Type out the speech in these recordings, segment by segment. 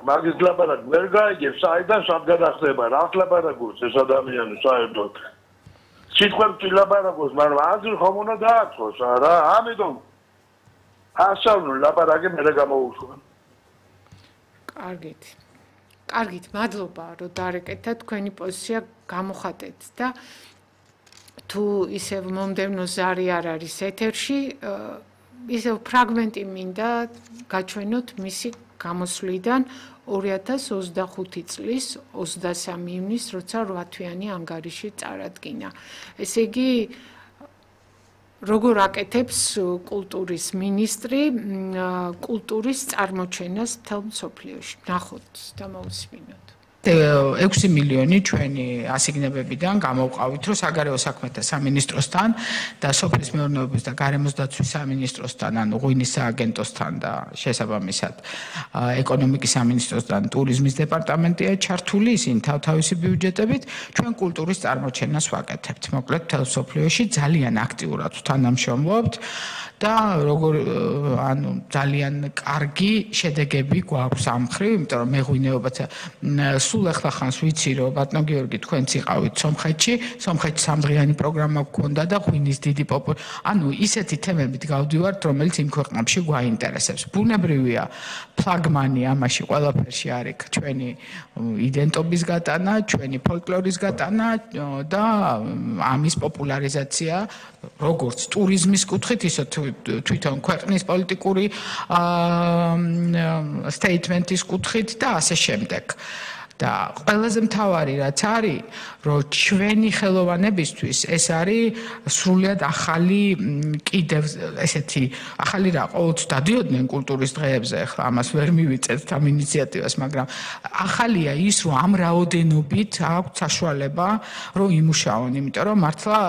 მაგის ლაპარაკი ვერ გაიგებს, საიდან სადგანახდება, რა ლაპარაკობს ეს ადამიანი საერთოდ. სიტყვებში ლაპარაკობს, მაგრამ აზრი ხომ უნდა დააწყოს რა, ამიტომ ასავლო ლაპარაკი მე გამოუშვა. კარგით, მადლობა, რომ დარეკეთა თქვენი პოზიცია გამოხატეთ და თუ ისევ მომდევნო ზარი არ არის ეთერში, ისევ ფრაგმენტი მინდა გაჩვენოთ მისი გამოსვლიდან 2025 წლის 23 ივნის, როცა 8 თვიანი ანგარიში წარადგინა. ესე იგი, როგორ აკეთებს კულტურის მინისტრი კულტურის წარმოჩენას მთელ მსოფლიოში? ნახოთ და მოვისმინოთ. 6 მილიონი ჩვენი ასიგნებებიდან გამოვყავით, რომ საგარეო საქმეთა სამინისტროსთან და სოფლის მეურნეობის და გარემოს დაცვის სამინისტროსთან, ანუ ღვინის სააგენტოსთან და შესაბამისად ეკონომიკის სამინისტროსთან ტურიზმის დეპარტამენტია ჩართული, ისინი თავთავისი ბიუჯეტებით ჩვენ კულტურის წარმოჩენას ვაკეთებთ. მოკლედ მთელ მსოფლიოში ძალიან აქტიურად თანამშრომლობთ და როგორ ანუ ძალიან კარგი შედეგები გვაქვს ამ მხრივ, იმიტომ რომ მეღვინეობაც სულ ახლა ხანს ვიცი რომ ბატონო გიორგი თქვენც იყავით სომხეთში სამდღიანი პროგრამა გქონდა და ღვინის დიდი ანუ ისეთი თემებით გავდივართ რომელიც იმ ქვეყნებში გვაინტერესებს. ბუნებრივია ფლაგმანი ამაში ყველაფერში არის ჩვენი იდენტობის გატანა, ჩვენი ფოლკლორის გატანა და ამის პოპულარიზაცია როგორც ტურიზმის კუთხით, ისე თვითონ ქვეყნის პოლიტიკური სტეიტმენტის კუთხით და ასე შემდეგ. და ყველაზე მთავარი რაც არის, რომ ჩვენი ხელოვანებისთვის ეს არის სრულიად ახალი კიდევ ესეთი ახალი რა ყოველთვის დადიოდნენ კულტურის დღეებზე, ახლა ამას ვერ მივიწევთ ამ ინიციატივას, მაგრამ ახალია ის, რომ ამ რაოდენობით აქვს საშუალება, რომ იმუშაონ, იმიტომ რომ მართლა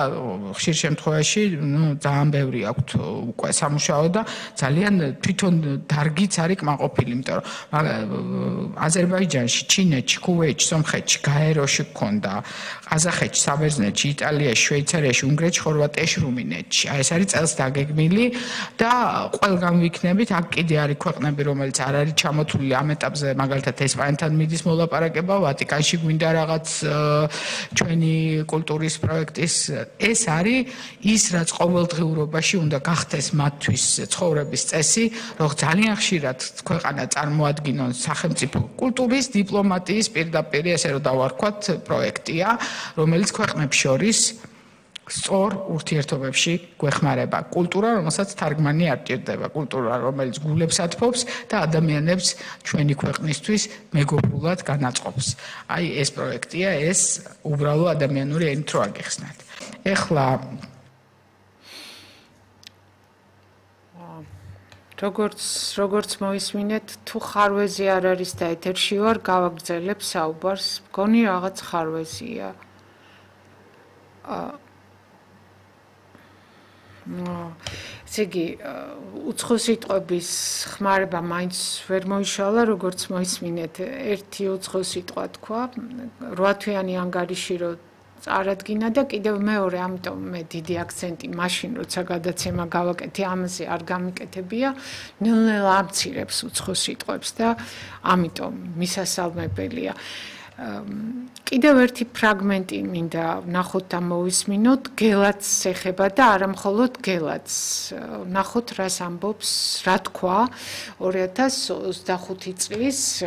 ხშირ შემთხვევაში, ძალიან ბევრი აქვთ უკვე სამუშაო და ძალიან თვითონ დარგიც არის კმაყოფილი, იმიტომ რომ აზერბაიჯანში, ჩინეთში ქუვეითში, სომხეთში, გაეროში გქონდა, ყაზახეთში, საბერძნეთში, იტალიაში, შვეიცარიაში, უნგრეთში, ხორვატიაში, რუმინეთში. აი ეს არის წელს დაგეგმილი და ყველგან ვიქნებით, აქ კიდე არის ქვეყნები, რომელიც არ არის ჩამოთვლილი ამ ეტაპზე, მაგალითად ესპანეთთან მიდის მოლაპარაკება, ვატიკანში გვინდა რაღაც ჩვენი კულტურის პროექტის. ეს არის ის, რაც ყოველდღიურობაში უნდა გახდეს მათთვის ცხოვრების წესი, რომ ძალიან ხშირად ქვეყანა წარმოადგინონ სახელმწიფო კულტურის, დიპლომატიის პირდაპირ ესე რომ დავარქვათ პროექტია, რომელიც ქვეყნებს შორის სწორ ურთიერთობებში გვეხმარება. კულტურა, რომელსაც თარგმანი არ ჭირდება, კულტურა, რომელიც გულებს ათბობს და ადამიანებს ჩვენი ქვეყნისთვის მეგობრულად განაწყობს. აი ეს პროექტია, ეს უბრალო ადამიანური ენით რო აგიხსნათ. ეხლა როგორც მოვისმინეთ, თუ ხარვეზი არ არის და ეთერში ვარ, გავაგრძელებ საუბარს. მგონი რაღაც ხარვეზია. ესე იგი, უცხო სიტყვების ხმარება მაინც ვერ მოიშალა, როგორც მოვისმინეთ, ერთი უცხო სიტყვა თქვა, 8 თვიანი ანგარიში რო წარადგინა და კიდევ მეორე, ამიტომ მე დიდი აქცენტი მაშინ როცა გადაცემა გავაკეთე, ამაზე არ გამიკეთებია, ნელ-ნელა ამცირებს უცხო სიტყვებს და ამიტომ მისასალმებელია. კიდევ ერთი ფრაგმენტი მინდა ნახოთ და მოვისმინოთ, გელათს ეხება და არა მხოლოდ გელათს. ნახოთ რას ამბობს, რა თქვა 2025 წლის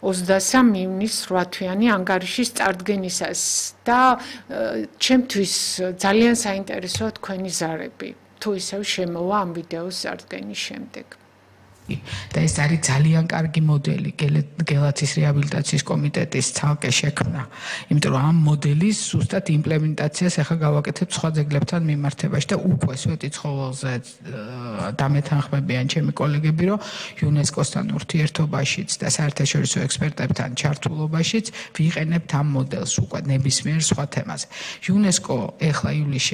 23 ივნის 8 თვიანი ანგარიშის წარდგენისას და ჩემთვის ძალიან საინტერესოა თქვენი ზარები, თუ ისევ შემოვა ამ ვიდეოს წარდგენის შემდეგ. და ეს არის ძალიან კარგი მოდელი გელათის რეაბილიტაციის კომიტეტის ცალკე შექმნა, იმიტომ რომ ამ მოდელის ზუსტად იმპლემენტაციას ახლა გავაკეთებ სხვა ძეგლებთან მიმართებაში და უკვე სვეტი ცხოველზე დამეთანხმებიან ჩემი კოლეგები, რომ იუნესკოსთან ურთიერთობაშიც და საერთაშორისო ექსპერტებთან ჩართულობაშიც ვიყენებთ ამ მოდელს უკვე ნებისმიერ სხვა თემაზე. იუნესკო ახლა ივლისში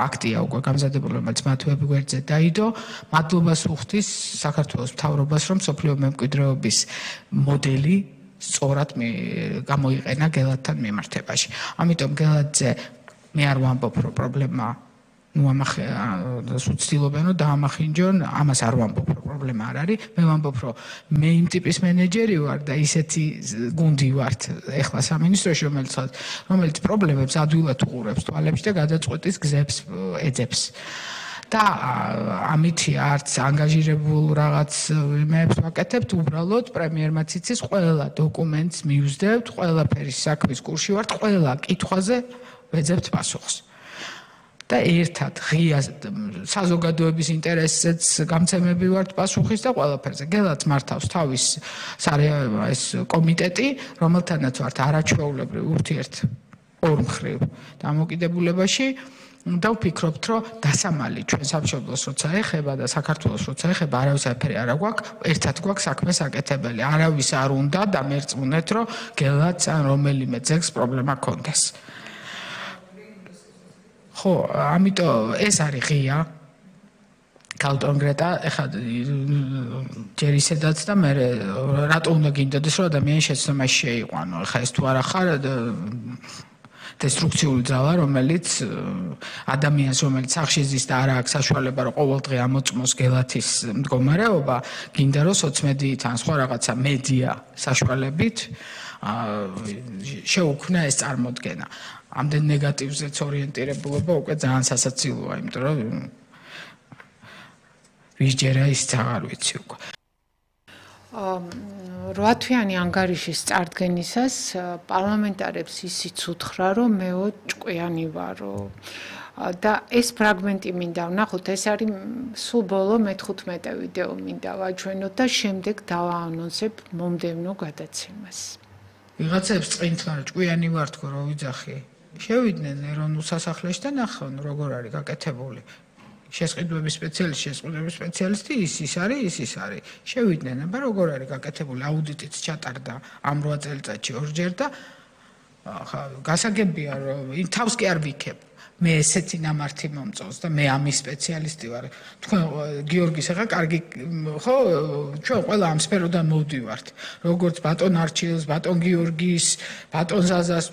აქტია უკვე გამზადებული, რომელიც მათ ვებგვერდზე დაიდო, მადლობას უხდის საქართველოს მთავრობას, რომ სოფლიო მემკვიდრეობის მოდელი სწორად გამოიყენა გელათთან მიმართებაში. ამიტომ გელათზე მე არ ვამბობ, რომ პრობლემა სუცილობენ რომ დაამახინჯონ, ამას არ ვამბობ, რომ პრობლემა არ არის. მე ვამბობ, რომ მე იმ ტიპის მენეჯერი ვარ და ისეთი გუნდი ვართ ეხლა სამინისტროში, რომელიც პრობლემებს ადვილად უყურებს თვალებში და გადაწყვეტის გზებს ეძებს. და ამითი არც ანგაჟირებულ რაღაც იმებს ვაკეთებთ, უბრალოდ პრემიერმაც იცის, ყველა დოკუმენტს მივსდებთ, ყველაფერი საქმის კურსში ვართ, ყველა კითხვაზე ვეძებთ პასუხს. და ერთად ღია საზოგადოების ინტერესზეც გამცემები ვართ პასუხის და ყველაფერზე. გელაც მართავს თავის ეს კომიტეტი, რომელთანაც ვართ არაჩვეულებრივ ურთიერთ ორმხრივ დამოკიდებულებაში. და ვფიქრობთ, რომ დასამალი ჩვენ სამშობლოს როცა ეხება და საქართველოს როცა ეხება, არავის არაფერი არ აქვს, ერთად გვაქვს საქმე საკეთებელი. არავის არ უნდა დამერწმუნეთ, რომ გელაც ან რომელიმე ძეგლს პრობლემა ქონდეს. ხო, ამიტომ ეს არის ღია. კალტონგრეტა, ეხლა ჯერ ისედაც და მე რატო უნდა გინდოდეს, რომ ადამიანი შეცდომაში შეიყვანო. ეხლა ეს თუ არა ხარ დესტრუქციული ძალა, რომელიც ადამიანს, რომელიც სახში ზის და არ აქვს საშუალება, რომ ყოველდღე ამოწმოს გელათის მდგომარეობა, გინდა რომ სოციმედიით ან სხვა რაღაცა მედია საშუალებით შეუქმნა ეს წარმოდგენა. ამდენ ნეგატივზეც ორიენტირებულობა უკვე ძალიან სასაცილოა, იმიტომ რომ ვისჯერა ისიც აღარ ვიცი უკვე. 8 თვიანი ანგარიშის წარდგენისას პარლამენტარებს ისიც უთხრა, რომ მეო ჭკვიანი ვარო. და ეს ფრაგმენტი მინდა ვნახოთ, ეს არის სულ ბოლო მე-15 ვიდეო მინდა ვაჩვენოთ და შემდეგ დავაანონსებ მომდევნო გადაცემას. ვიღაცებს წინთ რა ჭკვიანი ვარ თქო რა ვიძახი. შევიდნენ ეროვნულ სასახლეში და ნახონ როგორ არის გაკეთებული. შესყიდვების სპეციალისტი ის არის. შევიდნენ, აბა როგორ არის გაკეთებული, აუდიტიც ჩატარდა ამ 8 წელიწადში ორჯერ და გასაგებია რომ თავს კი არ ვიქებ. მე ესეთი ნამართი მომწონს და მე ამის სპეციალისტი ვარ. თქვენ გიორგის ახლა კარგი ხო, ჩვენ ყველა ამ სფეროდან მოვდივართ. როგორც ბატონ არჩილს, ბატონ გიორგის, ბატონ ზაზას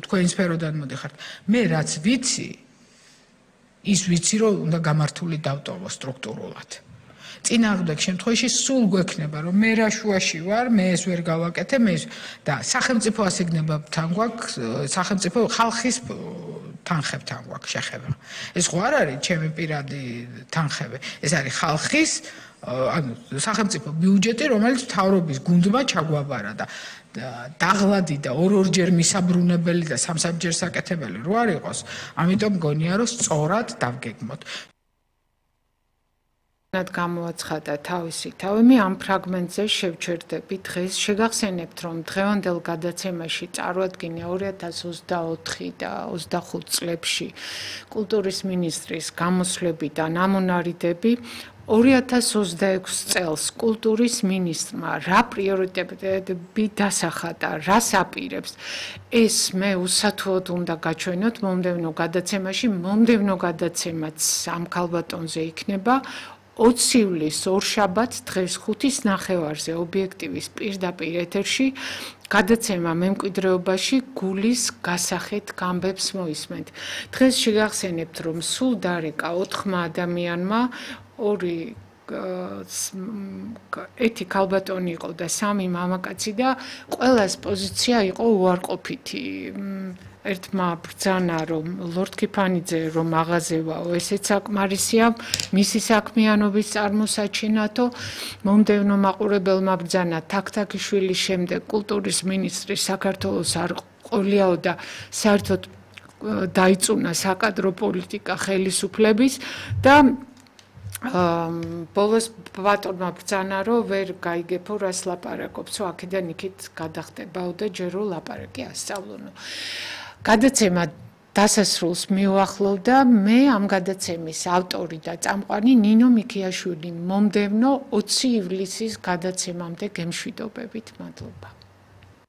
თქვენ სფეროდან მოდიხართ. მე რაც ვიცი ის ვიცი რომ უნდა გამართული დავტოვო სტრუქტურულად. წინააღმდეგ შემთხვევაში სულ გვექნება რომ მე რა შუაში ვარ, მე ეს ვერ გავაკეთე, და სახელმწიფო ასიგნებებთან გვაქვს, სახელმწიფო ხალხის თანხებთან გვაქვს შეხება. ეს ხო არ არის ჩემი პირადი თანხები, ეს არის ხალხის, ანუ სახელმწიფო ბიუჯეტი, რომელიც მთავრობის გუნდმა ჩაგვაბარა და დაღლადი და ორ-ორჯერ მისაბრუნებელი და სამსამჯერ საკეთებელი რო არ იყოს, ამიტომ მგონია რომ სწორად დავგეგმოთ. გამოაცხადა თავისი თავი, მე ამ ფრაგმენტზე შევჩერდები დღეს. შეგახსენებთ, რომ დღევანდელ გადაცემაში წარვადგინე 2024 და 25 წლებში კულტურის მინისტრის გამოსვლები და ნამონარიდები. 2026 წელს კულტურის მინისტრმა რა პრიორიტეტები დასახადა, რას აპირებს, ეს მე უსათუოდ უნდა გაჩვენოთ მომდევნო გადაცემაში. მომდევნო გადაცემაც ამ ქალბატონზე იქნება 20 ივლისს ორშაბათს დღეს 5-ის ნახევარზე ობიექტივის პირდაპირ ეთერში გადაცემა მემკვიდრეობაში გულის გასახეთ გამბებს მოისმენთ. დღეს შეგახსენებთ, რომ სულ დარეკა 4 ადამიანმა, 2 ერთი ქალბატონი იყო და 3 მამაკაცი და ყველას პოზიცია იყო უარყოფითი. ერთმა ბრძანა რომ ლორდ კიფანიძე რომ მაღაზევაო, ესეც საკმარისია მისი საქმიანობის წარმოსაჩინათო. მომდევნო მაყურებელმა ბრძანა თაქთაქიშვილის შემდეგ კულტურის მინისტრი საქართველოს არ ყოლიაო და საერთოდ დაიწუნა საკადრო პოლიტიკა ხელისუფლების და ბოლოს ბატონმა ბრძანა რომ ვერ გაიგებო რას ლაპარაკობსო, აქედან იქით გადახდებაო და ჯერო ლაპარაკი ასწავლონო. გადაცემა დასასრულს მიუახლოვდა მე ამ გადაცემის ავტორი და წამყვანი ნინო მიქიაშვილი. მომდევნო 20 ივლისის გადაცემამდე გემშვიდობებით. მადლობა.